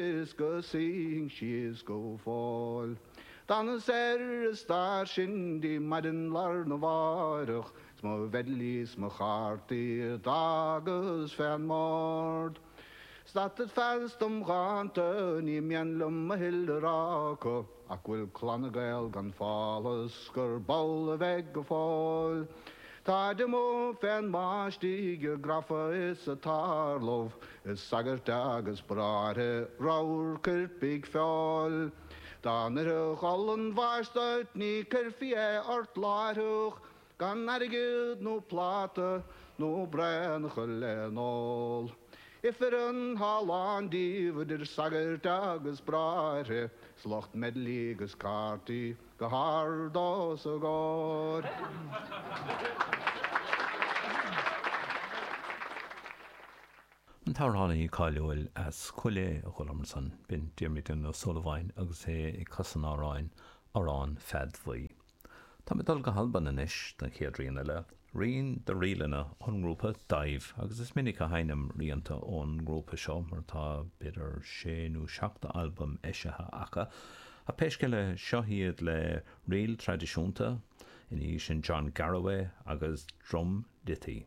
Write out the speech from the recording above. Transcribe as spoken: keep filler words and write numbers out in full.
Is go suífinn síos go fóill. D'fhanas ar an stáisiún dtí maidin lá arna mhárach 's mo bhidlí 's mo chártaí a d'fhágas fén mbord. Stadfad feasta dom dhánta, ní mian liom a thuilleadh a rá acu, ach go bhfuil Clanna Gael gan phálás gurb amhlaidh a bheidh go fóill. Táid amuigh fén mbáistigh a grafa is a tarlódh, is sagairt agus bráithre ramhar coirpigh feoil. Dá n-oirfeadh olann bháis duit ní cuirfí é ort láithreach, gan airgead nó pláta nó braon a chur le n-ól. Ifreann thá lán díobh idir sagairt agus bráithre, 's lucht meidlí agus cártaí go hard os a gcomhair. An t-amhránaí cáiliúil as Cúil Aodha a chualamar ansan, b'in Diarmuidín Ó Súilleabháin agus é ag casadh an amhráin Amhrán Pheaid Bhuí. Tá mé ag dul go hAlbain anois don chéad rian eile, rian de ríleanna ón ngrúpa Daimh, agus is minic a sheinnim rianta ón ngrúpa seo mar tá b'fhéidir sé nó seacht albam eisithe acu. Ach pé scéal é, seo iad le ríl traidisiúnta, ina dhiaidh sin John Garraway agus drum ditty.